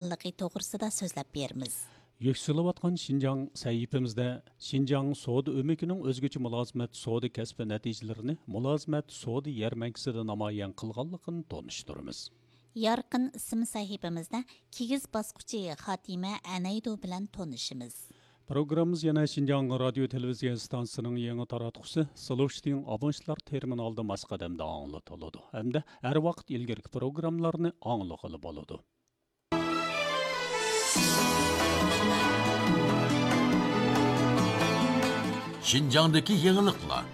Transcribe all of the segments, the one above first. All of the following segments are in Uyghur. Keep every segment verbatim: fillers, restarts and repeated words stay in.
قىلغانلىقى توغرىسىدا سۆزلەپ بېرىمىز. يۈكسىلىۋاتقان شىنجاڭ سەھىپىمىزدە شىنجاڭ سودا ئۆمىكىنىڭ ئۆزگىچە مۇلازىمەت سودا كەسپى نەتىجىلىرىنى مۇلازىمەت سودا يەرمەنكىسىدە نامايان قىلغانلىقىنى تونۇشتۇرىمىز. يارقىن ئىسىم سەھىپىمىزدە كىگىز باسقۇچى خاتىمە ئەنەيدۇ بىلەن تونۇشىمىز. پروگراممىمىز يەنە شىنجاڭ رادىيو تېلېۋىزىيە ئىستانسىسىنىڭ يېڭى تاراتقۇسى سلوشتىڭ ئابونتلار تېرمىنالىدا ماس قەدەمدە ئاڭلىتىلىدۇ ھەمدە ھەر ۋاقىت ئىلگىرىكى پروگراممىلارنى ئاڭلىغىلى بولىدۇ. شىنجاڭدىكى يېڭىلىقلار.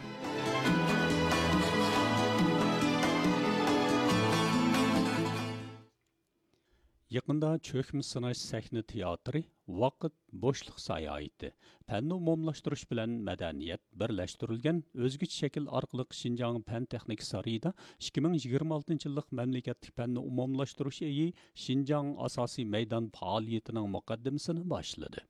يېقىندا چۆكمە سىناش سەھنە تىياتىرى ۋاقىت بوشلۇق ساياھىتى، پەننى ئومۇملاشتۇرۇش بىلەن مەدەنىيەت بىرلەشتۈرۈلگەن ئۆزگىچە شەكىل ئارقىلىق شىنجاڭ پەن تېخنىكا سارىيىدا ئىككى مىڭ يىگىرمە ئالتىنچى يىللىق مەملىكەتلىك پەننى ئومۇملاشتۇرۇش ئېيى شىنجاڭ ئاساسىي مەيدان پائالىيىتىنىڭ مۇقەددىمىسىنى باشلىدى.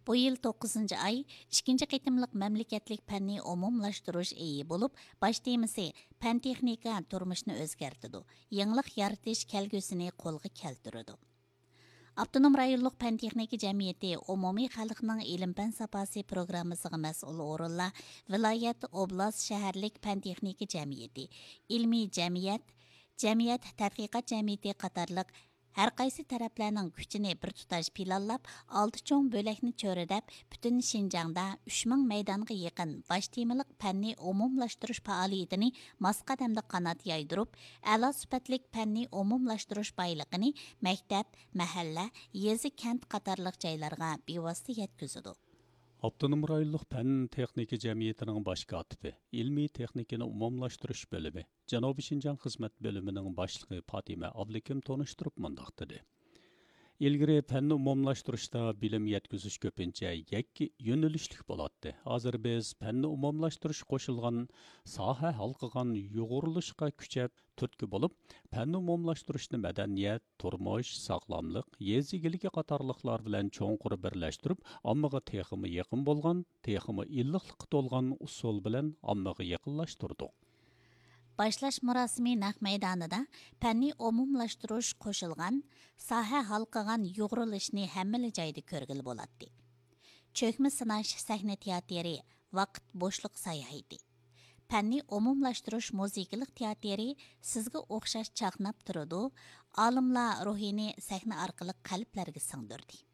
بۇ يىل توققۇزىنچى ئاي ئىككىنچى قېتىملىق مەملىكەتلىك پەننى ئومۇملاشتۇرۇش ئېيى بولۇپ، باش تېمىسى پەن تېخنىكا تۇرمۇشنى ئۆزگەرتىدۇ، يېڭىلىق يارىتىش كەلگۈسىنى قولغا كەلتۈرىدۇ. ئاپتونوم رايونلۇق پەن تېخنىكا جەمئىيىتى ئومۇمىي خەلقنىڭ ئىلىم پەن ساپاسى پروگراممىسىغا مەسئۇل ئورۇنلار، ۋىلايەت، ئوبلاست، شەھەرلىك پەن تېخنىكا جەمئىيىتى، ئىلمىي جەمئىيەت، جەمئىيەت تەتقىقات جەمئىيىتى قاتارلىق ھەر قايسى تەرەپلەرنىڭ كۈچىنى بىر تۇتاش پىلانلاپ، ئالتە چوڭ بۆلەكنى چۆرىدەپ، پۈتۈن شىنجاڭدا ئۈچ مىڭ مەيدانغا يېقىن باش تېمىلىق پەننى ئومۇملاشتۇرۇش پائالىيىتىنى ماس قەدەمدە قانات يايدۇرۇپ، ئەلا سۈپەتلىك پەننى ئومۇملاشتۇرۇش بايلىقىنى مەكتەپ، مەھەللە، يېزا، كەنت قاتارلىق جايلارغا بىۋاسىتە يەتكۈزىدۇ. ئاپتونوم رايونلۇق پەن تېخنىكا جەمئىيىتىنىڭ باش كاتىپى، ئىلمىي تېخنىكىنى ئومۇملاشتۇرۇش بۆلۈمى، جەنۇبىي شىنجاڭ خىزمەت بۆلۈمىنىڭ باشلىقى پاتىمە ئابلىكىم تونۇشتۇرۇپ مۇنداق دېدى: ئىلگىرى پەننى ئومۇملاشتۇرۇشتا بىلىم يەتكۈزۈش كۆپىنچە يەككە يۆنىلىشلىك بولاتتى. ھازىر بىز پەننى ئومۇملاشتۇرۇش قوشۇلغان، ساھە ھالقىغان يۇغۇرۇلۇشقا كۈچەپ تۈرتكە بولۇپ، پەننى ئومۇملاشتۇرۇشنى مەدەنىيەت، تۇرمۇش، ساغلاملىق، يېزا ئىگىلىكى قاتارلىقلار بىلەن چوڭقۇر بىرلەشتۈرۈپ، ئاممىغا تېخىمۇ يېقىن بولغان، تېخىمۇ ئىللىقلىققا تولغان ئۇسۇل بىلەن ئاممىغا يېقىنلاشتۇردۇق. باشلاش مۇراسىمى نەق مەيدانىدا پەننى ئومۇملاشتۇرۇش قوشۇلغان ساھە ھالقىغان يۇغۇرۇلۇشنى ھەممىلا جايدا كۆرگىلى بولاتتى. چۆكمە سىناش سەھنە تىياتىرى، ۋاقىت بوشلۇق ساياھىتى. پەننى ئومۇملاشتۇرۇش مۇزىكىلىق تىياتىرى سىزگە ئوخشاش چاقناپ تۇرىدۇ، ئالىملار روھىنى سەھنە ئارقىلىق قەلبلەرگە سىڭدۈردى.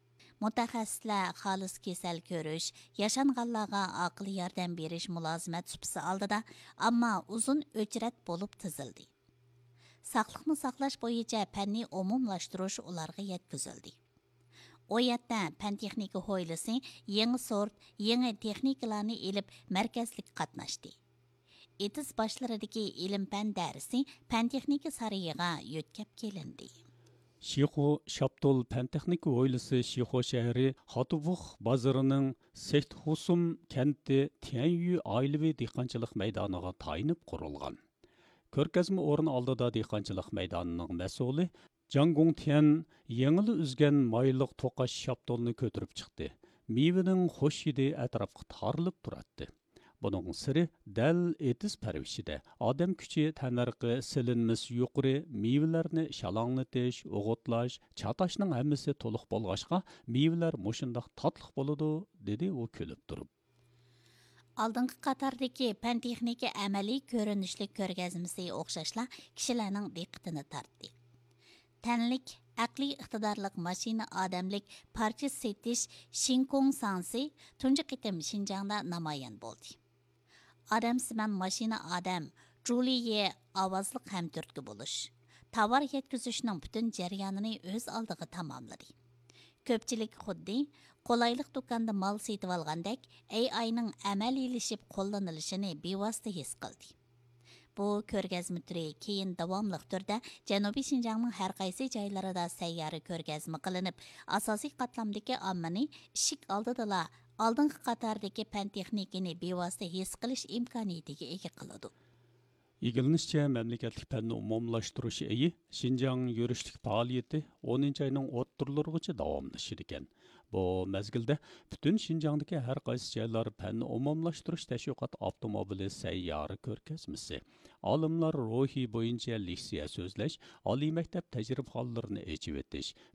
مۇتەخەسسىسلەر خالىس كېسەل كۆرۈش، ياشانغانلارغا ئاقىل ياردەم بېرىش مۇلازىمەت سۇپىسى ئالدىدا، ئەمما ئۇزۇن ئۆچرەت بولۇپ تىزىلدى. ساقلىقنى ساقلاش بويىچە پەننى ئومۇملاشتۇرۇش ئۇلارغا يەتكۈزۈلدى. ئۇ يەردە پەن تېخنىكا ھويلىسى يېڭى سورت، يېڭى تېخنىكىلارنى ئېلىپ مەركەزلىك قاتناشتى. ئېتىز باشلىرىدىكى ئىلىم پەن دەرسى پەن تېخنىكا سارىيىغا يۆتكەپ كېلىندى. شىخۇ شاپتۇل پەن تېخنىكا ھويلىسى شىخۇ شەھىرى خاتۇبۇخ بازىرىنىڭ سېكتخۇسۇم كەنتى تيەنيۈ ئائىلىۋى دېھقانچىلىق مەيدانىغا تايىنىپ قۇرۇلغان. كۆرگەزمە ئورنى ئالدىدا دېھقانچىلىق مەيدانىنىڭ مەسئۇلى جاڭ گۇڭتيەن يېڭىلا ئۈزگەن مايلىق توقاچ شاپتۇلنى كۆتۈرۈپ چىقتى. مېۋىنىڭ خۇش ھىدى ئەتراپقا تارىلىپ تۇراتتى. بۇنىڭ سىرى دەل ئېتىز پەرۋىشىدە. ئادەم كۈچى تەننەرخى سېلىنمىسى يۇقىرى، مېۋىلەرنى شالاڭلىتىش، ئوغۇتلاش، چاتاشنىڭ ھەممىسى تولۇق بولغاچقا، مېۋىلەر مۇشۇنداق تاتلىق بولىدۇ، دېدى ئۇ كۈلۈپ تۇرۇپ. ئالدىنقى قاتاردىكى پەن تېخنىكا ئەمەلىي كۆرۈنۈشلۈك كۆرگەزمىسى ئوخشاشلا كىشىلەرنىڭ دىققىتىنى تارتتى. تەنلىك، ئەقلىي ئىقتىدارلىق ماشىنا ئادەملىك پارچە سېتىش شىنكوڭ ساڭسى تۇنجى قېتىم شىنجاڭدا نامايان بولدى. ئادەمسىمان ماشىنا ئادەم جۇلىيې ئاۋازلىق ھەمتۈرتكە بولۇش، تاۋار يەتكۈزۈشنىڭ پۈتۈن جەريانىنى ئۆز ئالدىغا تاماملىدى. كۆپچىلىك خۇددى قولايلىق دۇكاندا مال سېتىۋالغاندەك، ئەي ئاينىڭ ئەمەلىيلىشىپ قوللىنىلىشىنى بىۋاسىتە ھېس قىلدى. بۇ كۆرگەزمە تۈرى كېيىن داۋاملىق تۈردە جەنۇبىي شىنجاڭنىڭ ھەر قايسى جايلىرىدا سەييارە كۆرگەزمە قىلىنىپ، ئاساسىي قاتلامدىكى ئاممىنى ئىشىك ئالدىدىلا ئالدىنقى قاتاردىكى پەن تېخنىكىنى بىۋاسىتە ھېس قىلىش ئىمكانىيىتىگە ئىگە قىلىدۇ. ئىگىلىنىشىچە، مەملىكەتلىك پەننى ئومۇملاشتۇرۇش ئېيى شىنجاڭ يۈرۈشلۈك پائالىيىتى ئونىنچى ئاينىڭ ئوتتۇرىلىرىغىچە داۋاملىشىدىكەن. بۇ مەزگىلدە پۈتۈن شىنجاڭدىكى ھەر قايسى جايلار پەننى ئومۇملاشتۇرۇش تەشۋىقات ئاپتوموبىلى سەييارە كۆرگەزمىسى، ئالىملار روھى بويىچە لېكسىيە سۆزلەش، ئالىي مەكتەپ تەجرىبىخانىلىرىنى ئېچىۋېتىش،